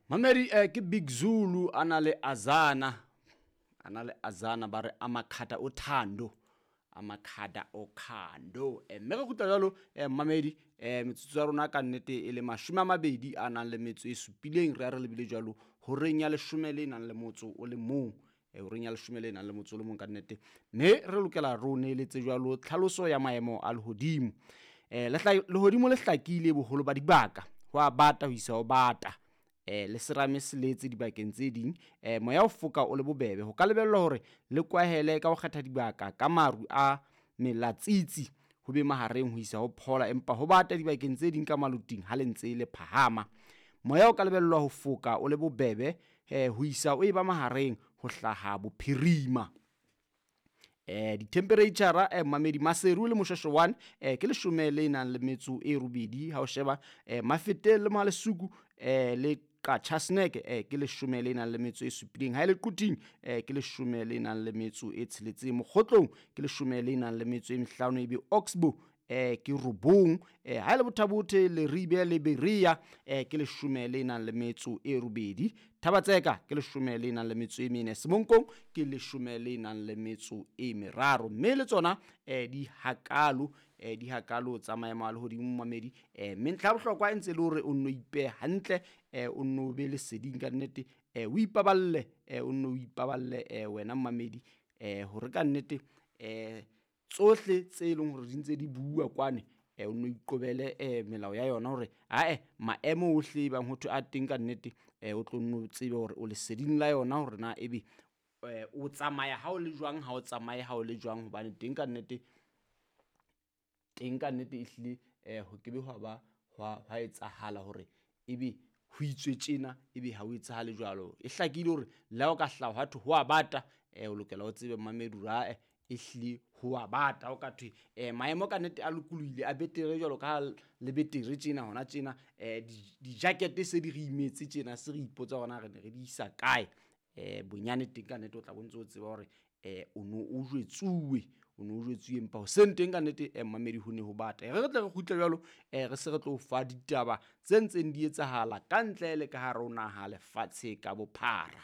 Mamedi ke Big Zulu a na le Azana, a na le Azana ba re Amakhata Othando, Amakhata Okhando. Mme re kgutla jwalo mamedi, metsotso ya rona ka nnete e le 27 a nang le metso e supileng, re ya re lebile jwalo horeng ya 11 le nang le motso o le mong. Horeng ya 11 le nang le motso o le mong ka nnete, mme re lokela re o neeletse jwalo tlhaloso ya maemo a lehodimo. Lehodimo le hlakile boholo ba dibaka, ho a bata ho isa ho bata. Le serame se letse dibakeng tse ding, moya o foka o le bobebe. Ho ka lebellwa hore le kwahele ka ho kgetha dibaka ka maru a melatsitsi, ho be mahareng ho isa ho phola, empa ho bata dibakeng tse ding ka maloting ha le ntse le phahama. Moya o ka lebellwa ho foka o le bobebe, ho isa o eba mahareng ho hlaha bophirima. Dithempereitjhara, mamedi, Maseru le Moshweshwe 1, ke 18 ha o sheba, Mafeteng le Mohalesuku, le Qachaseneke, ke 17, ha e le Quthing, ke 16, Mokgotlong ke 15, ebe Oxbow, ke 9, ha e le Bothabothe, Leribe le Berea, ke 18, Thabatseka ke 14, Semonkong ke 13, mme le tsona, di hakalo, di hakalo tsa maemo a lehodimo mamedi. Mme ntlha ya bohlokwa e ntse le hore o nno ipehe hantle, o nno be leseding ka nnete, o ipaballe, o nno o ipaballe, wena mamedi, hore ka nnete, tsohle tse leng hore di ntse di bua kwane, o nno iqobele, melao ya yona hore ae maemo ohle bang ho thwe a teng ka nnete, o tlo nno tsebe hore o leseding la yona hore na ebe, o tsamaya ha o le jwang, ha o tsamaye ha o le jwang, hobane teng ka nnete, teng ka nnete ehlile, ho kebe hwa ba hwa etsahala hore ebe ho itswe tjena ebe ha o etsahale jwalo. E hlakile hore le ha o ka hlaha hwa thwe ho a bata, o lokela o tsebe mamedi hore ae ehlile ho a bata. O ka thwe, maemo ka nnete a lokolohile a betere jwalo ka ha le betere tjena hona tjena, di-jacket se di re imetse tjena, se re ipotsa hore na re ne re di isa kae. Bonyane teng ka nnete o tla bontse o tseba hore, o no o jwetsuwe, o no o jwetsuwe, empa hoseng teng ka nnete, mamedi ho ne ho bata. E re re tle re kgutle jwalo, re se re tlo fa ditaba tse ntseng di etsahala ka ntle le ka hare ho naha lefatshe ka bophara.